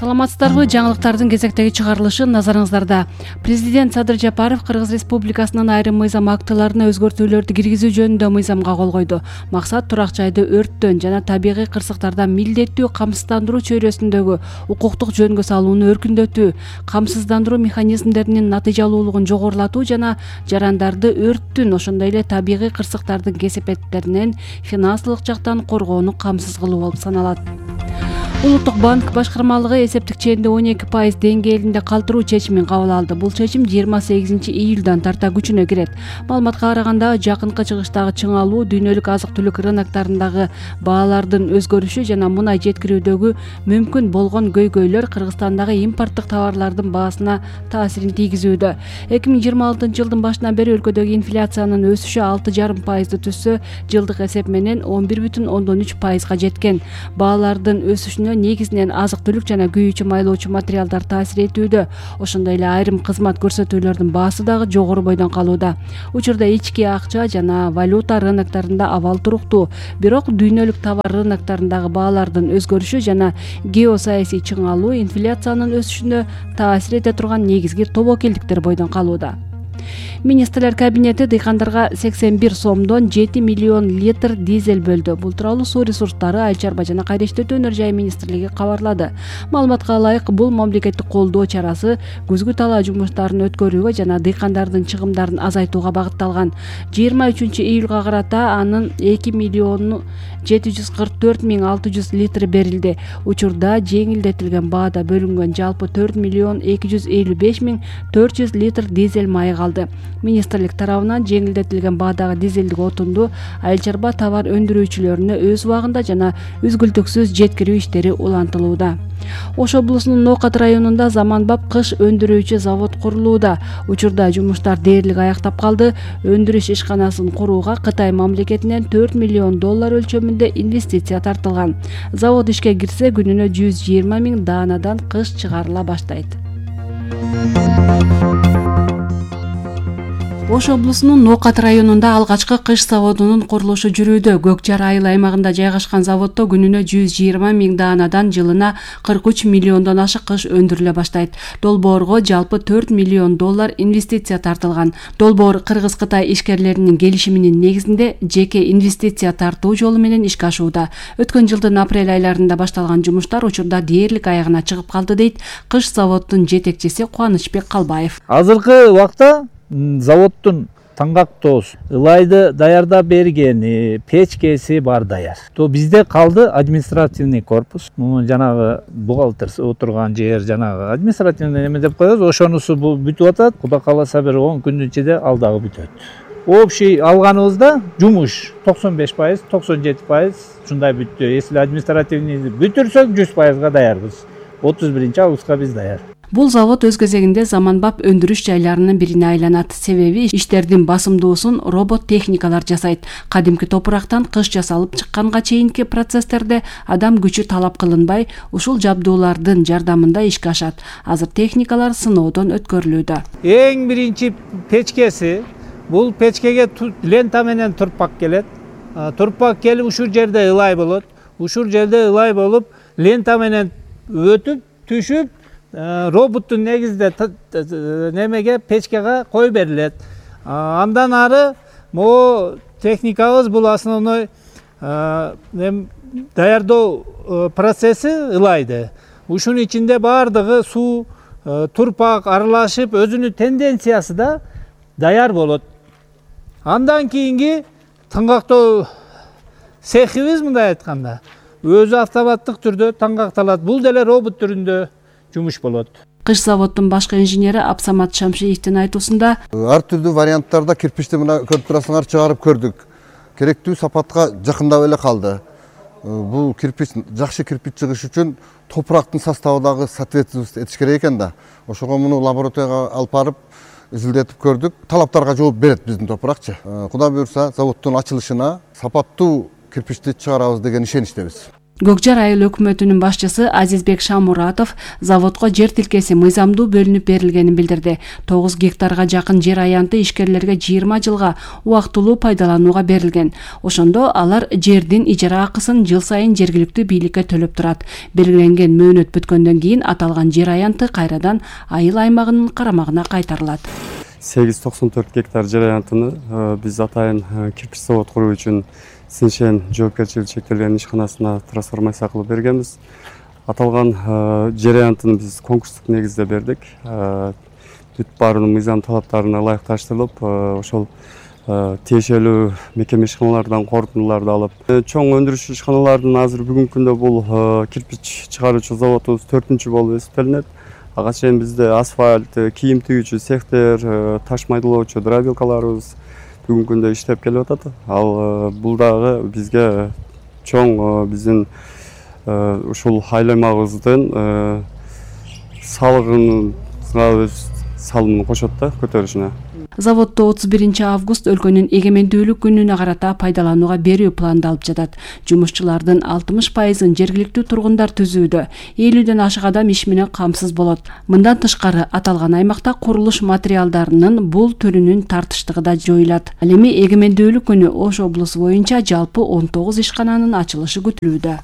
Саламатсыздарбы? Жаңылыктардын кезектеги чыгарылышы назарыңыздарда. Президент Садыр Жапаров Кыргыз Республикасынын айрым мыйзам актыларына өзгөртүүлөрдү киргизүү жөнүндө мыйзамга кол койду. Максат турак жайды өрттөн жана табигый кырсыктардан милдеттүү камсыздандыруу чөйрөсүндөгү укуктук жөнгө салууну өркүндөтүү, камсыздандыруу механизмдеринин натыйжалуулугун жогорулатуу жана жарандарды өрттүн, ошондой эле табигый кырсыктардын кесепеттеринен финансылык жактан коргоону камсыз кылуу болуп саналат. Улуттук банк башкармалыгы эсептик ченди 12% деңгээлинде калтыруу чечимин кабыл алды. Бул чечим 28 июлдан тарта күчүнө кирет. Маалыматка караганда, жакынкы чыгыштагы чыңалуу дүйнөлүк азык-түлүк рыноктарындагы баалардын өзгөрүшү жана мунай жеткирүүдөгү мүмкүн болгон көйгөйлөр Кыргызстандагы импорттук товарлардын баасына таасирин тийгизүүдө. 2026 жылдын башынан бери өлкөдөгү инфляциянын өсүшү 6,5% түзсө, жылдык эсеп менен 11,3%га жеткен. Баалардын өсүшүнө негизинен азык-түлүк жана күйүүчү майлоочу материалдар таасир этүүдө. Ошондой эле айрым кызмат көрсөтүүлөрдүн баасы дагы жогору бойдон калууда. Учурда ички акча жана валюта рыноктарында абал туруктуу. Бирок дүйнөлүк товар рыноктарындагы баалардын өзгөрүшү жана геосаясий чыңалуу инфляциянын өсүшүнө таасир эте турган негизги тобокелдиктер бойдон калууда. Министрлер кабинети дыйкандарга 81 сомдон 7 миллион литр дизель бөлдү. Бул тууралуу Суу ресурстары, Айыл чарба жана кайра иштетүү өнөр жай министрлиги кабарлады. Маалыматка ылайык, бул мамлекеттик колдоо чарасы күзгү талаа жумуштарын өткөрүүгө жана дыйкандардын чыгымдарын азайтууга багытталган. 23 июлга карата анын 2,744,600 литри берилди. Учурда жеңилдетилген баада бөлүнгөн жалпы 4,255,400 литр дизель майы калды. Министрлик тарабынан жеңилдетилген баадагы дизелдик отунду айыл чарба товар өндүрүүчүлөрүнө өз убагында жана үзгүлтүксүз жеткирүү иштери улантылууда. Ош облусунун Ноокат районунда заманбап кыш өндүрүүчү завод курулууда. Учурда жумуштар дээрлик аяктап калды. Өндүрүш ишканасын курууга Кытай мамлекетинен $4 миллион өлчөмүндө инвестиция тартылган. Завод ишке кирсе, күнүнө 120,000 даанадан кыш чыгарыла баштайт. Ош облусунун Ноокат районунда алгачкы кыш заводунун курулушу жүрүүдө. Көк жар айыл аймагында жайгашкан заводдо күнүнө 120,000 даанадан жылына 43 миллиондон ашык кыш өндүрүлө баштайт. Долбоорго жалпы $4 миллион инвестиция тартылган. Долбоор Кыргыз-Кытай ишкерлеринин келишиминин негизинде жеке инвестиция тартуу жолу менен ишке ашууда. Өткөн жылдын апрель айларында башталган жумуштар учурда дээрлик аягына чыгып калды, дейт кыш заводдун жетекчиси Кубанычбек Калбаев. Азыркы убакта заводдун таңгактоосу, ылайды даярдап бергени, печкеси бар даяр. То бизде калды административный корпус. Муну жанагы бухгалтер отурган жер, жанагы административный неме деп коебуз. Ошонусу бүтүп атат. Кудай кааласа бир 10 күндүн ичинде ал дагы бүтөт. Общий алганыбызда жумуш 95%, 97% ушундай бүттү. Если административный бүтүрсөк 100%га даярбыз. 31 августка биз даяр. Бул завод өз кезегинде заманбап өндүрүш жайларынын бирине айланат. Себеби иштердин басымдуусун робот техникалар жасайт. Кадимки топурактан кыш жасалып чыкканга чейинки процесстерде адам күчү талап кылынбай, ушул жабдуулардын жардамында ишке ашат. Азыр техникалар сыноодон өткөрүлүүдө. Эң биринчи печкеси, бул печкеге лента менен турпак келет. Турпак келип ушул жерде ылай болот. Ушул жерде ылай болуп, лента менен өтүп, түшүп, роботтун негизде немеге печкеге кой берилет. Андан ары могу техникабыз бул основной даярдоо процесси ылайды. Ушунун ичинде баардыгы суу, турпак аралашып, өзүнүн тенденциясы да даяр болот. Андан кийинки таңгактоо цехибиз, мындай айтканда, өзү автоматтык түрдө таңгакталат. Бул деле робот түрүндө жумуш болот. Кыш заводдун башкы инженери Абсамат Шамшиевдин айтуусунда, ар түрдүү варианттарда кирпичти мына көрүп турасыңар чыгарып көрдүк. Керектүү сапатка жакындап эле калды. Бул кирпич, жакшы кирпич чыгыш үчүн топурактын составындагы соответствие этиш керек экен да. Ошого муну лабораторияга алып барып изилдетип көрдүк. Талаптарга жооп берет биздин топуракчы. Кудай буйрса, заводдун ачылышына сапаттуу кирпичти чыгарабыз деген ишеничтебиз. Көк Жар айыл өкмөтүнүн башчысы Азизбек Шамуратов заводко жер тилкеси мыйзамдуу бөлүнүп берилгенин билдирди. 9 гектарга жакын жер аянты ишкерлерге 20 жылга убактылуу пайдаланууга берилген. Ошондо алар жердин ижара акысын жыл сайын жергиликтүү бийликке төлөп турат. Белгиленген мөөнөт бүткөндөн кийин аталган жер аянты кайрадан айыл аймагынын карамагына кайтарылат. 894 гектар жер аянтыны биз атайын кирпич завод куруу үчүн Синшен жоопкерчилиги чектелген ишканасына трансформация кылып бергенбиз. Аталган жер аянтыны биз конкурстук негизде бердик. Бүт баарынын мыйзам талаптарына ылайыкташтырылып, ошол тиешелүү мекеме ишканалардан корутундуларды алып, чоң өндүрүш ишканаларынын азыр бүгүнкү күндө бул кирпич чыгаруучу заводубуз 4-чү болуп эсептелинет. Ага чейин бизде асфальт, кийим тигүүчү цехтер, таш майдалоочу дробилкаларыбыз бүгүнкү күндө иштеп келип атат. Ал бул дагы бизге чоң биздин ушул айланмабыздын салыгына өз салымын кошот да көтөрүшүнө. Заводду 31 август өлкөнүн эгемендүүлүк күнүнө карата пайдаланууга берүү пландалып жатат. Жумушчулардын 60%-ын жергиликтүү тургундар түзүүдө. 50ден ашык адам иш менен камсыз болот. Мындан тышкары аталган аймакта курулуш материалдарынын бул түрүнүн тартыштыгы да жоюлат. Ал эми эгемендүүлүк күнү Ош облусу боюнча жалпы 19 ишкананын ачылышы күтүлүүдө.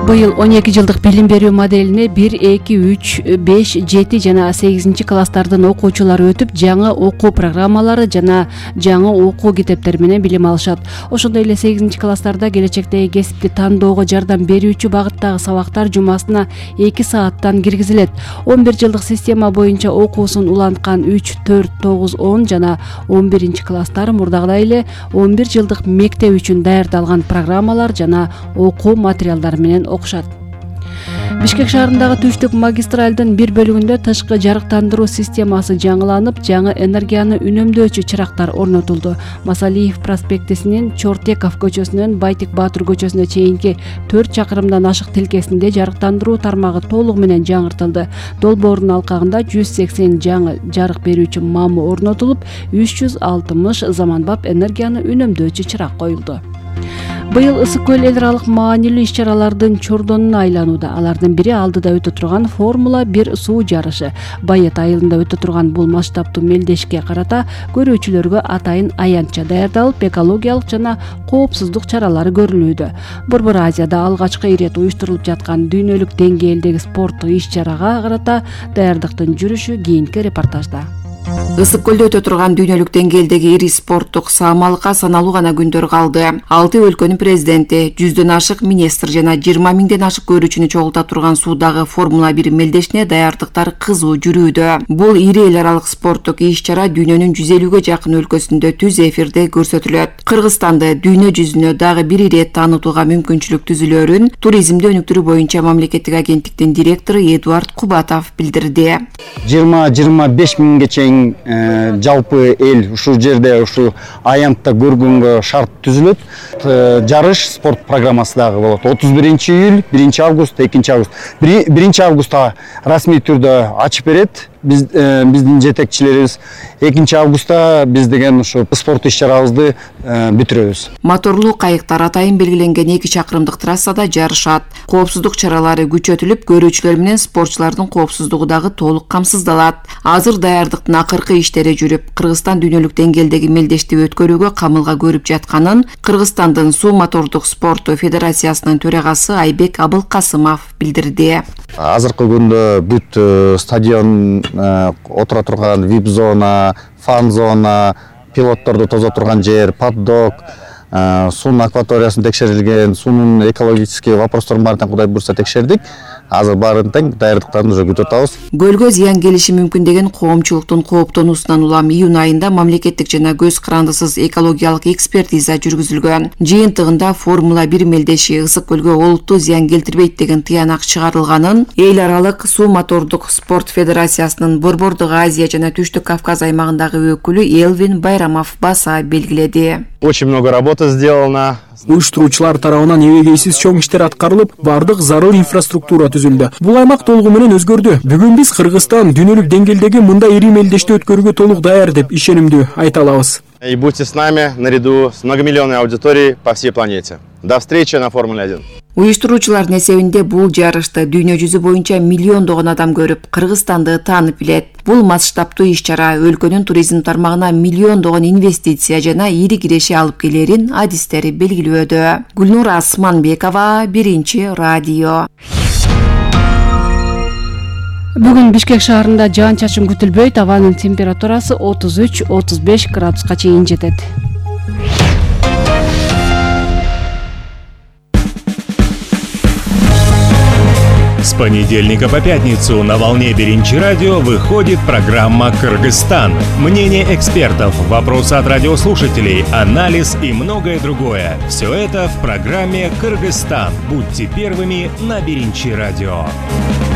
Быйыл 12 жылдык билим берүү моделине 1, 2, 3, 5, 7 жана 8 класстардын окуучулары өтүп, жаңы окуу программалары жана жаңы окуу китептери менен билим алышат. Ошондой эле 8 класстарда келечектеги кесипти тандоого жардам берүүчү багыттагы сабактар жумасына 2 сааттан киргизилет. 11 жылдык система боюнча окуусун уланткан 3, 4, 9, 10 жана 11 класстар мурдагыдай эле 11 жылдык мектеп үчүн даярдалган программалар жана окуу материалдары менен окушат. Бишкек шаарындагы түштүк магистралдын бир бөлүгүндө тышкы жарыктандыруу системасы жаңыланып, жаңы энергияны үнөмдөөчү чырактар орнотулду. Масалиев проспектисинин Чортеков көчөсүнөн Байтик Баатыр көчөсүнө чейинки 4 чакырымдан ашык тилкесинде жарыктандыруу тармагы толугу менен жаңыртылды. Долбоордун алкагында 180 жаңы жарык берүүчү мамы орнотулуп, 360 заманбап энергияны үнөмдөөчү чырак коюлду. Быйыл Ысык көл эл аралык маанилүү иш-чаралардын чордонуна айланууда. Алардын бири алдыда өтө турган Формула 1 суу жарышы. Байет айылында өтө турган бул масштабтуу мелдешке карата көрүүчүлөргө атайын аянтча даярдалып, экологиялык жана коопсуздук чаралары көрүлүүдө. Борбор Азияда алгачкы ирет уюштурулуп жаткан дүйнөлүк деңгээлдеги спорттук иш-чарага карата даярдыктын жүрүшү кийинки репортажда. Ысык көлдө өтө турган дүйнөлүк деңгээлдеги ири спорттук саамалыкка саналуу гана күндөр калды. 6 өлкөнүн президенти, 100дөн ашык министр жана 20 миңден ашык көрүүчүнү чогулта турган суудагы Формула 1 мелдешине даярдыктар кызуу жүрүүдө. Бул ири эл аралык спорттук иш-чара дүйнөнүн 150ге жакын өлкөсүндө түз эфирде көрсөтүлөт. Кыргызстанды дүйнө жүзүнө дагы бир ирет таанытууга мүмкүнчүлүк түзүлөөрүн туризмди өнүктүрүү боюнча мамлекеттик агенттиктин директору Эдуард Кубатов билдирди. 20-25 миңге чейин жалпы эл ушул жерде ушу аянтта көргөнгө шарт түзүлөт. Жарыш спорт программасы дагы болот. 31 июль, 1 август, 2 август. 1 августта расмий түрдө ачып берет биздин жетекчилерибиз. 2 августта биз деген ушу спорт иш-чарабызды бүтүрөбүз. Моторлуу кайыктар атайын белгиленген 2 чакырымдык трассада жарышат. Коопсуздук чаралары күчөтүлүп, көрүүчүлөр менен спортчулардын коопсуздугу дагы толук камсыздалат. Азыр даярдыктын акыркы иштери жүрүп, Кыргызстан дүйнөлүк деңгээлдеги мелдешти өткөрүүгө камылга көрүп жатканын Кыргызстандын суу мотордук спорту федерациясынын төрагасы Айбек Абылкасымов билдирди. Азыркы күндө бүт стадион отура турган VIP зона, фан зона, пилотторду тозо турган жер, паддок, суунун акваториясын текшерилген, суунун экологический вопросторун баарын Кудай буйрса текшердик. Азыр баарын тең даярдыктарын уже күтүп атабыз. Көлгө зыян келиши мүмкүн деген коомчулуктун кооптонуусунан улам июнь айында мамлекеттик жана көз карандысыз экологиялык экспертиза жүргүзүлгөн. Жыйынтыгында Формула 1 мелдеши Ысык көлгө олуттуу зыян келтирбейт деген тыянак чыгарылганын эл аралык суу мотордук спорт федерациясынын Борбордук Азия жана Түштүк Кавказ аймагындагы өкүлү Элвин Байрамов баса белгиледи. Очень много работы сделано. Уюштуруучулар тарабынан эбегейсиз чоң иштер аткарылып, бардык зарыл инфраструктура түзүлдү. Бул аймак толугу менен өзгөрдү. Бүгүн биз Кыргызстан дүйнөлүк деңгээлдеги мындай ири мелдешти өткөрүүгө толук даяр деп ишенимдүү айта алабыз. И будьте с нами наряду с многомиллионной аудиторией по всей планете. До встречи на Формуле 1. Уюштуруучулардын эсебинде бул жарышты дүйнө жүзү боюнча миллиондогон адам көрүп, Кыргызстанды таанып билет. Бул масштабтуу иш-чара өлкөнүн туризм тармагына миллиондогон инвестиция жана ири киреши алып келерин адистери белгилөөдө. Гүлнура Асманбекова, Биринчи радио. Бүгүн Бишкек шаарында жаан-чачын күтүлбөйт, абанын температурасы 33-35 градуска чейин жетет. С понедельника по пятницу на волне Биринчи радио выходит программа «Кыргызстан». Мнение экспертов, вопросы от радиослушателей, анализ и многое другое. Все это в программе «Кыргызстан». Будьте первыми на Биринчи радио.